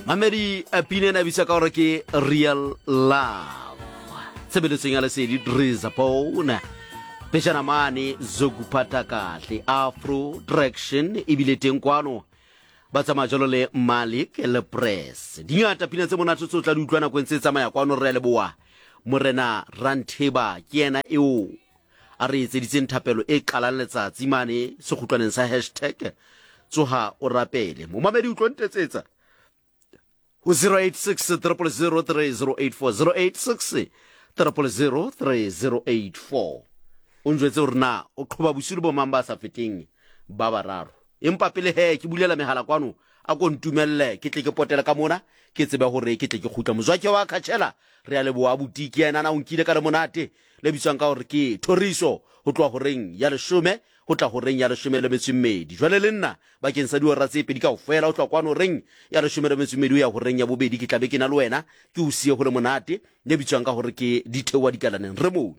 Mamedi a pina ena bitsa ka gore ke Real Love. Tshebeletsong ya lesedi Drizabone. Pejana mane Zokuphatha Kahle Afro Traction ebile teng kwano ba tsamaya jalo le Malik le Press. Di ngata pina tse monate tse o tla di utlwa nako e ntse e tsamaya kwano re a leboa. Morena Rantheba ke yena eo a re etseditseng thapelo e qalang letsatsi mane sekgutlwaneng sa hashtag tsoha o rapele. Momamedi o tlo ntetsetsa ho 086 000 3084 086 000 3084 o njwetse hore na o qhoba bosiu le bomang ba sa feteng ba bararo. Empa pele he ke bulela mehala kwano, a ko ntumelle ke tle ke potele ka mona ke tsebe hore ke tle ke kgutla. Mozwake wa Khatshela, re a leboha abuti, ke yena na o nkile ka le monate le bitswang ka hore ke Thoriso ho tloha horeng ya leshome ho tla horeng ya leshome le metso e mmedi. Jwale le nna bakeng sa dihora tse pedi kaofela ho tloha kwano horeng ya leshome le metso e mmedi ho ya horeng ya bobedi ke tla be ke na le wena ke o siye ho le monate le bitswang ka gore ke Ditheoa Dikalaneng. Re moo.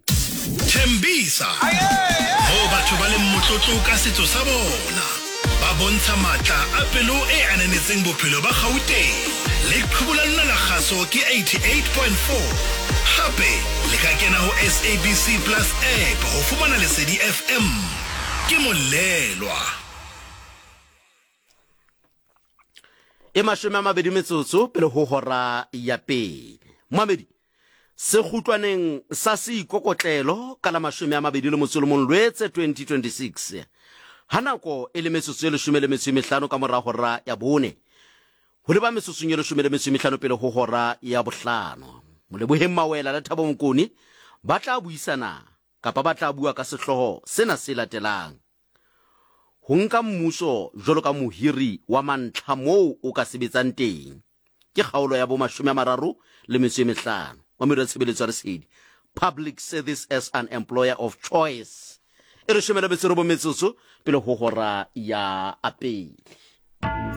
Thembisa, moo batho ba leng motlotlo ka setso sa bona, ba bontsha matla a pelo e ananetseng bophelo ba Gauteng. Leqhubu la lona la kgaso ke 88.4. Hape le ka kena ho SABC Plus app ho fumana Lesedi FM. Ke Molelwa. E 20 metsotso pele ho hora ya pele. Moamedi, sekgutlwaneng sa seikokotlelo ka la 21 Lwetse 2026, ha nako e le metsotso e leshome le metso e mehlano ka mora hora ya bone, ho leba metsotsong e leshome le metso e mehlano pele ho hora ya bohlano, Moleboheng Mawela le Thabo Mokone ba tla buisana kapa ba tla bua ka sehlooho sena se latelang, Ho nka mmuso jwalo ka mohiri wa mantlha moo o ka sebetsang teng ke kgaolo ya bo 35 wa Meru ya Tshebeletso ya Lesedi, Public Service as an Employer of Choice. E 19 metsotso pele ho hora ya pele.